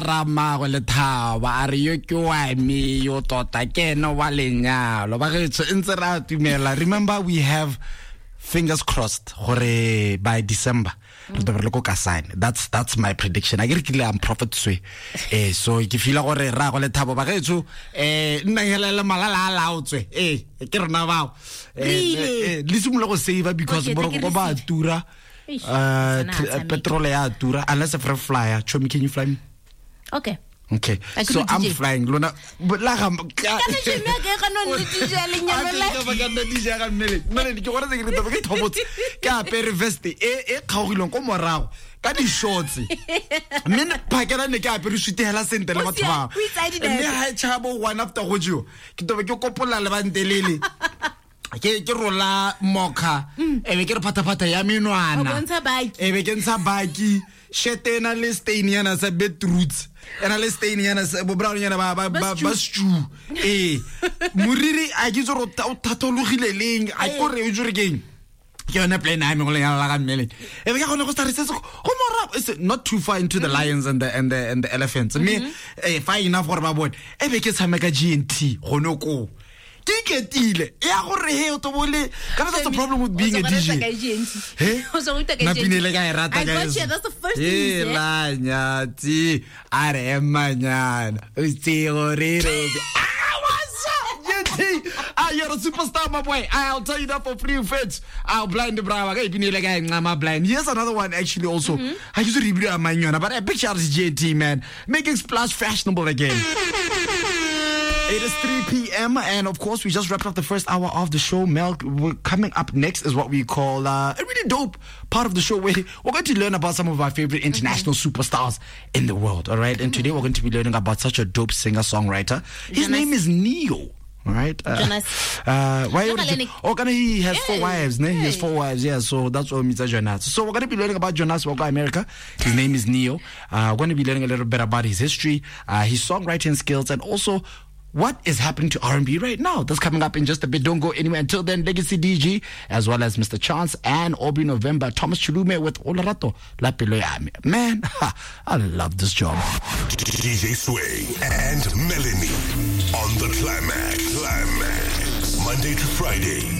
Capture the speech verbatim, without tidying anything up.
ra ramagwe Lethabo a re yo ke wa me yo tota ke ene wa lenyalo ba getsho ntse ra tumela. Remember, we have fingers crossed gore by December re tlo be re le ko Kasane. that's that's my prediction. A ke re kile am prophet swe eh so ke feel gore ra go Lethabo ba getsho eh nna hela le malala a laotswe eh ke rena bao. Eh, Really? eh, le simolola go save because Okay, boroko take a ba receipt. tura. Eish, uh sana tr- a tshameka. Petrol ya tura unless if re flyer. Chomi, can you fly me? Okay. Okay. I could So do I'm D J. flying lona but la ga Kana Jimmy a ke gana le D J ya lenyalo la. Ke ba ka nna D J ya ga mmele mmele ke gore ke re ke thobotse ke apere vest e e kgaogileng ko morago ka di shorts mme ne phakela ne ke apere suit hela sentle le O batho sia- ba o itse a di mme nepe. ha e tšhabo one after go jewa ke tobe ke kopolla lebante lele ke ke rola mokha e be ke re phathaphatha ya menwana O bontsha baki. e be ke ntsha baki shirt e na le stain yana sa beetroots e na le stain yana sa bo brown yana ba ba ba ba stew eh moriri a ke itse gore o tha- o thathologile leng a ke gore o jure keng ke yone plan ya me go lenyalo la ga mmele e be ke kgone go start se se go morago it's not too far into the lions and the and the and the elephants mme eh far enough gore ba bone e be ke tshameka G N T gone koo ke iketile ya gore he o tobole kana. That's the problem with being a D J. He? Napinele ka e rata I got you. That's the first thing you said. la nyatsi a re emanyana o itse gore re. Ah, what's up, G N T? Ah, you're a superstar, my boy. I'll tell you that for free. Fits. I'll blind the brow. Blind. Here's another one, actually, also. I used to read but a big shout out to G N T, man. Making splash fashionable again. It is three p m and of course we just wrapped up the first hour of the show. Mel, we're coming up next is what we call uh, a really dope part of the show where we're going to learn about some of our favorite international superstars in the world. All right, and today we're going to be learning about such a dope singer-songwriter. His Jonas. Name is Ne-Yo. All right. Uh, Jonas. Uh, why? Jonas. Oh, can he has four Yeah. wives? Ne? He has four wives. Yeah. So that's what means Jonas. So we're going to be learning about Jonas Walker America. His name is Ne-Yo. Uh, we're going to be learning a little bit about his history, uh, his songwriting skills, and also what is happening to R and B right now. That's coming up in just a bit. Don't go anywhere. Until then, Legacy D G, as well as Mister Chance and Aubrey November, Thomas Chilume with Olarato La Pelo Ya Me. Man, I love this job. D J Sway and Melanie on the Climax. Climax. Monday to Friday.